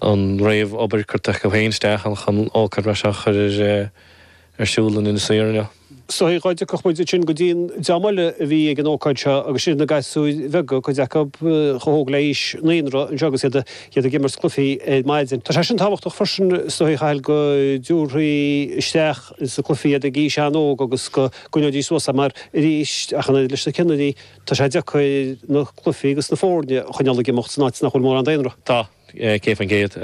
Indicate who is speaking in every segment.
Speaker 1: an réamh-obair curtha acu féin isteach ann chun ócáid mar seo a chur ar siúl in Inis Oírr inniu.
Speaker 2: Is dóigh dá dtiocfadh muid ansin go dtí an dream eile a bhí ag an ócáid seo agus sin na gasúir bheaga, cuid acu chomh hóg le haois naíonra anseo agus iad iad ag imirt cluichí ar maidin. Tá sé sin tábhachtach freisin is dóigh, a Chathail, go dtabharfaí isteach sna cluichí iad ag aois an-óg agus go gcoinneoidís suas é mar arís, ach an oiread leis na ceannairí, tá sé deacair na cluichí agus na foirne a choinneáil ag imeacht san áit nach bhfuil mórán daonra.
Speaker 1: Tá. 100%.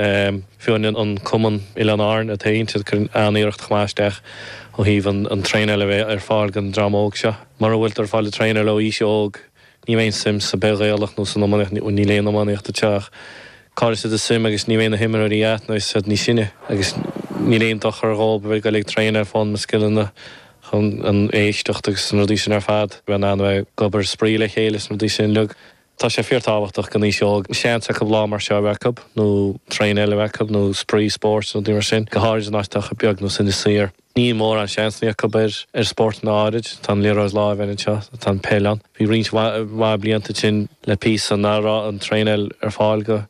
Speaker 1: Fiú an cumann Oileáin Árann atá ann, cuireann an-iarracht chomh maith isteach ó thaobh an traenáil a bheith ar fáil don dream óg seo. Mura bhfuiltear ag fáil an traenáil ó aois óg, ní bheidh aon suim sa bpeil Ghaelach nó san iománaíocht, níl aon iománaíocht anseo ach caillfidh siad a suim agus ní bheidh na himreoirí agat nuair atá siad níos sine agus níl aon dochar dhóibh a bheith ag dul ag traenáil foghlaim na scileanna chun an éisteacht agus na rudaí sin ar fad, bheith in ann a bheith ag obair spraoi le chéile is na rudaí sin uilig. Tá sé fíortábhachtach don aois óg seans acu lá mar seo a bheith acu, nó traenáil a bheith acu, nó spraoi spóirt nó rudaí mar sin, go háirid in áit atá chomh beag nós Inis Oírr. Níl mórán seansanna acu ar ar spórtanna áirid. Tá an liathróid láimhe anseo, tá an peil ann. Bhí roinnt mhaith blianta ansin le píosa nach raibh an traenáil ar fáil go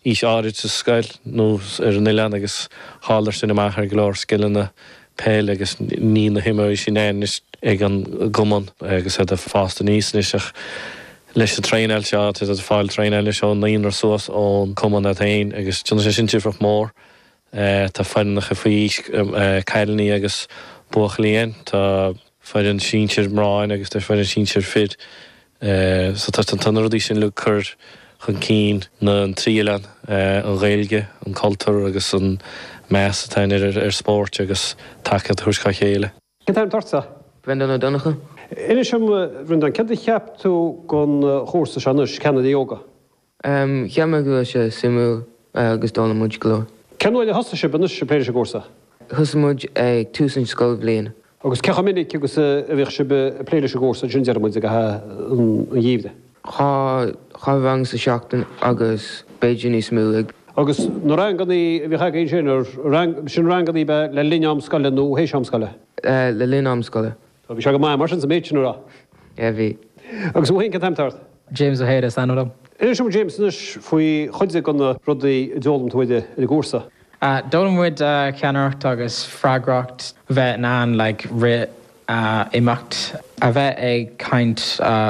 Speaker 1: aois áirid sa scoil nó ar an oileán agus chailleadar sin amach ar go leor scileanna peile agus níl na himreoirí sin ann anois ag an gcumann agus iad ag fás aníos anois ach leis an traenáil seo tá siad ag fáil traenáil anois ón naíonra suas ón cumann iad féin agus déanann sé sin difríocht mór. Tá foireannacha faoi aois cailíní agus buachaillí ann, tá foireann sinsir mná ann agus tá foireann sinsir fir. So tá tá na rudaí sin uilig ag cur chun cinn na dtrí oileán, an Ghaeilge, an cultúr agus an meas atá ann ar ar spóirt agus tacaíocht a thabhairt dhá chéile.
Speaker 2: Cén t-ainm atá ortsa?
Speaker 3: Brendan Ó Donnchadha.
Speaker 2: Inis dom, a Bhrendáin, céard a cheap tú den chúrsa seo anois, Ceannairí Óga?
Speaker 3: Cheap mé go raibh sé suimiúil agus d'fhoghlaim muid go leor.
Speaker 2: Cén uair a thosaigh sibh anois ag plé leis an gcúrsa?
Speaker 3: Thosaigh muid ag tús an scoilbhliain.
Speaker 2: Agus cé chomh minic agus a bhíodh sibh ag plé leis an gcúrsa ansin, déarfaidh muid, i gcaitheamh an gheimhridh?
Speaker 3: Dhá rang sa seachtain agus b'fhéidir níos mó ag.
Speaker 2: Agus na ranganna a bhíodh agaibh ansin, ar, sin ranganna ab ea le linn am scoile nó théis am scoile?
Speaker 3: Le linn am scoile.
Speaker 2: Bhí sé go maith mar sin sa méid sin a rá.
Speaker 3: Yeah, bhí.
Speaker 2: Agus thú féin, cén t-ainm atá ort?
Speaker 4: James Ó hAodha is ainm dom.
Speaker 2: Inis dom James anois faoi chuid de na rudaí a d'fhoghlaim tú ar an gcúrsa.
Speaker 4: D'fhoghlaim muid ceannaireacht agus freagracht, bheith in ann like rith imeacht, a bheith ag caint.